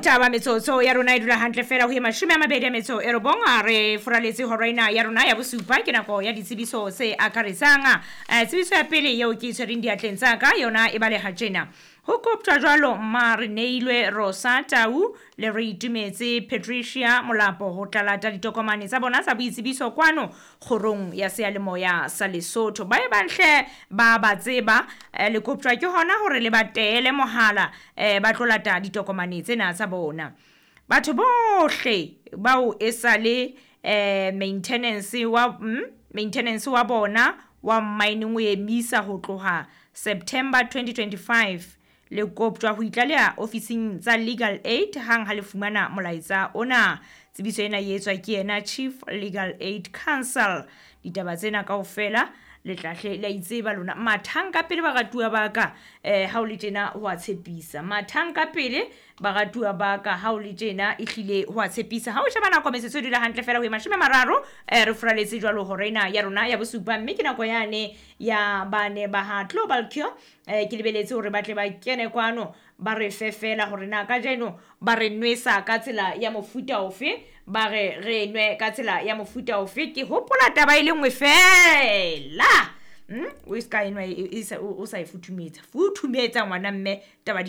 Taba metsotso ya rona e dula hantle fela ho ye 29 a re furaletse hora ena ya rona ya bosupa. Ke nako ya ditsebiso tse akaretsang. Tsebiso ya pele eo ke e tshwereng diatleng tsa ka yona e baleha tjena. Ho koptjwa jwalo mma re neilwe Rosa Tau le re itumetse Patricia Molapo ho tla lata ditokomane tsa bona tsa boitsebiso kwano kgorong ya seyalemoya sa Lesotho. Ba e banhle ba ba tseba, le koptjwa ke hona hore le ba teele mohala, ba tlo lata ditokomane tsena tsa bona. Batho bohle bao e sale maintenance wa bona wa mining o emisa ho tloha September 2025, le koptjwa ho itlaleha ofising tsa Legal Aid hang ha le fumana molaetsa ona. Tsebiso ena e etswa ke yena Chief Legal Aid Council. Ditaba tsena kaofela le tlahle le a itseba lona. Mathang ka pele baratuwa ba ka, ha o le tjena ho a tshepisa. Mathang ka pele baratuwa ba ka, ha o le tjena ehlile ho a tshepisa. Ha o sheba nako metsotso e dula hantle fela ho ye 30, re furaletse jwalo hora ena ya rona ya bosupa, mme ke nako yane ya bane ba ha Global Cure. Ke lebeletse hore ba tle ba kene kwano ba re fe fela hore na kajeno ba re nwesa ka tsela ya mofuta ofe, ba re re nwe ka tsela ya mofuta ofe. Ke hopola taba e le nngwe fela. O ska enwa o sa e futhumetsa. Futhumetsa ngwana mme taba di